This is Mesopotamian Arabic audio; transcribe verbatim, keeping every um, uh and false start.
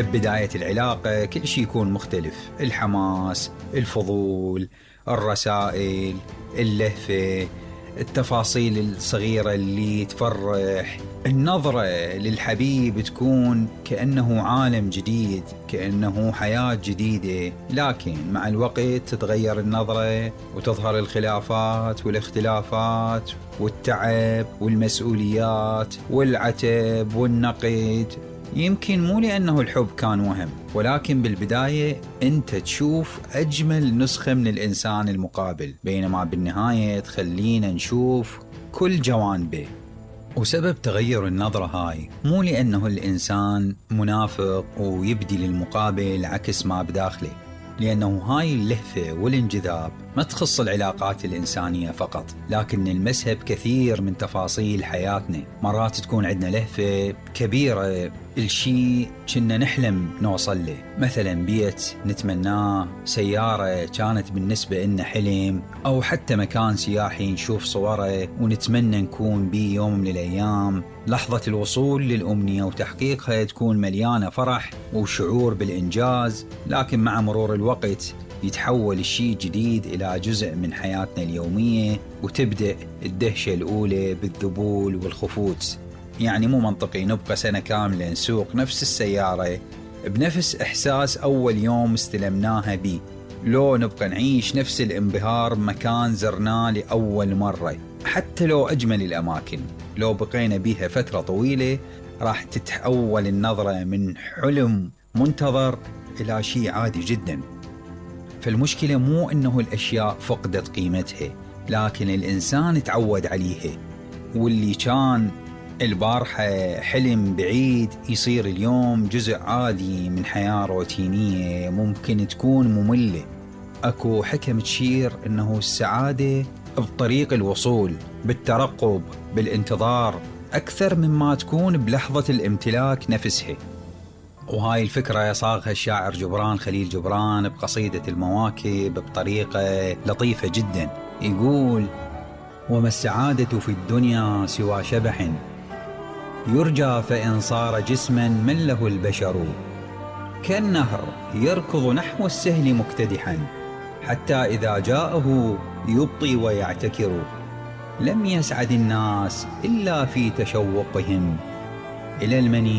ببداية العلاقة كل شيء يكون مختلف، الحماس، الفضول، الرسائل، اللهفة، التفاصيل الصغيرة اللي تفرح. النظرة للحبيب تكون كأنه عالم جديد، كأنه حياة جديدة. لكن مع الوقت تتغير النظرة وتظهر الخلافات والاختلافات والتعب والمسؤوليات والعتب والنقد. يمكن مو لأنه الحب كان وهم، ولكن بالبداية أنت تشوف أجمل نسخة من الإنسان المقابل، بينما بالنهاية تخلينا نشوف كل جوانبه. وسبب تغير النظرة هاي مو لأنه الإنسان منافق ويبدي للمقابل عكس ما بداخله، لأنه هاي اللهفة والانجذاب ما تخص العلاقات الإنسانية فقط، لكن نلمسها بكثير من تفاصيل حياتنا. مرات تكون عندنا لهفة كبيرة الشيء كنا نحلم نوصل له، مثلا بيت نتمناه، سيارة كانت بالنسبة لنا حلم، أو حتى مكان سياحي نشوف صوره ونتمنى نكون بيه يوم من الأيام. لحظة الوصول للأمنية وتحقيقها تكون مليانة فرح وشعور بالإنجاز، لكن مع مرور الوقت يتحول الشيء جديد إلى جزء من حياتنا اليومية، وتبدأ الدهشة الأولى بالذبول والخفوت. يعني مو منطقي نبقى سنة كاملة نسوق نفس السيارة بنفس إحساس أول يوم استلمناها بيه، لو نبقى نعيش نفس الانبهار بمكان زرناه لأول مرة. حتى لو أجمل الأماكن، لو بقينا بيها فترة طويلة راح تتحول النظرة من حلم منتظر إلى شيء عادي جدا. فالمشكلة مو إنه الأشياء فقدت قيمتها، لكن الإنسان تعود عليها، واللي كان البارحة حلم بعيد يصير اليوم جزء عادي من حياة روتينية ممكن تكون مملة. أكو حكم تشير إنه السعادة بطريق الوصول، بالترقب، بالانتظار، أكثر مما تكون بلحظة الامتلاك نفسها. وهاي الفكرة صاغها الشاعر جبران خليل جبران بقصيدة المواكب بطريقة لطيفة جدا. يقول: وما السعادة في الدنيا سوى شبح يرجى فإن صار جسما من له البشر، كالنهر يركض نحو السهل مكتدحا حتى إذا جاءه يبطي ويعتكر. لم يسعد الناس إلا في تشوقهم إلى المني